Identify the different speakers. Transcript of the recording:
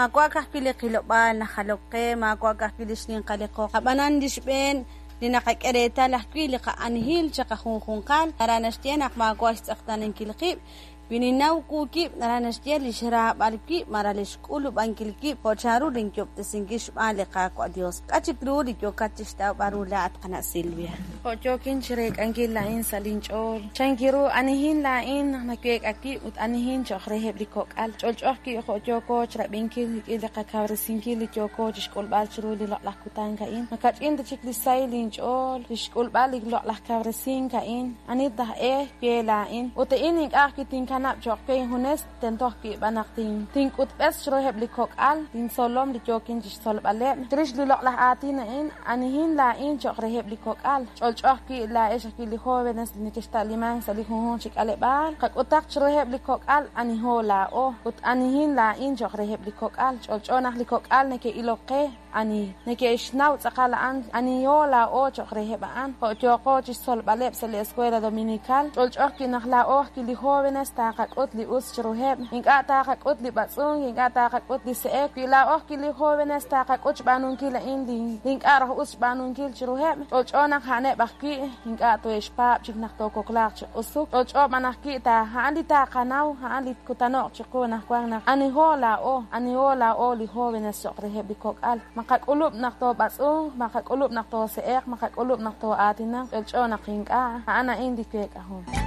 Speaker 1: Maawa' ka'ajwi' li qilob'aal najalok qe, maawa' ka'ajwi' li xninqal li qoq. Ab'anan li xb'een li naqak'e reetal ajwi' li qa'anihil chiqajunjunqal, naraj naxye naq maawa' xtz'eqtaanankil qib'. Wi ninnaw wu wib', naraj naxye li xraab'al wib' malaj li xk'ulub'ankil wib' jo' chanru linyob'tesinkil xb'aan li Qaawa' Yos. K'a' chik ru li yookat chi xtawb'al ru laa'at, qana' Silvia?
Speaker 2: Jo' yookin chireek'ankil laa'in sa' lin ch'ool, chanki ru anihin laa'in naq naweek'a wib' ut anihin cho'q reheb' li kok'al. Ch'olch'o ajwi' jo' yooko chirab'inkil rik'in li qakawresinkil li yooko chixk'ulb'al chiru li loq'laj kutan a'in. Ma kach'in ta chik li sahil inch'ool li xk'ulb'al li loq'laj kawresink a'in. Ani taj e we laa'in? Ut a'in ink'a' ajwi' tinkanab' cho'q we injunes, tento ajwi' b'an naq tink'utb'es chiruheb' li kok'al, lintzolom li yookin chixtzolb'aleb'. Chirix li loq'laj aatin a'in, anihin laa'in cho'q reheb' li kok'al? Ch'olch'o ajwi' laa'ex ajwi' li jóvenes li nekexta'limank sa' li junjunq chi k'aleb'aal, qak'utaq chiruheb' li kok'al aniho laa'o ut anihin laa'in cho'q reheb' li kok'al. Ch'olch'o naq li kok'al neke'ilok qe. Ani neke'xnaw tz'aqal a'an, aniho laa'o cho'q reheb' a'an, jo' yooqo chixtzolb'aleb' sa' li Escuela Dominical, ch'olch'o ajwi' naq laa'o ajwi' li jóvenes taqak'ut li us chiruheb', ink'a' taqak'ut li b'atz'unk, ink'a' taqak'ut li se'ek, wi laa'o ajwi' li jóvenes taqak'ut xb'aanunkil a'in li ink'a' raj us xb'aanunkil chiruheb', ch'olch'o naq a'aneb' ajwi' ink'a' tohe'xpaab' chik naq tookoklaaq chi q'usuk, ch'olch'o b'an ajwi' ta a'an li taqanaw, a'an li tkutano'q chiqu anaqwan naq aniho laa'o, aniho laa'o li jóvenes cho'q reheb' li kok'al. Ma qak'ulub' naq toob'atz'unq, ma qak'ulub' naq toose'eq, ma qak'ulub' naq too'aatinaq, ch'olch'o naq ink'a', a'an a'in li week'ahom.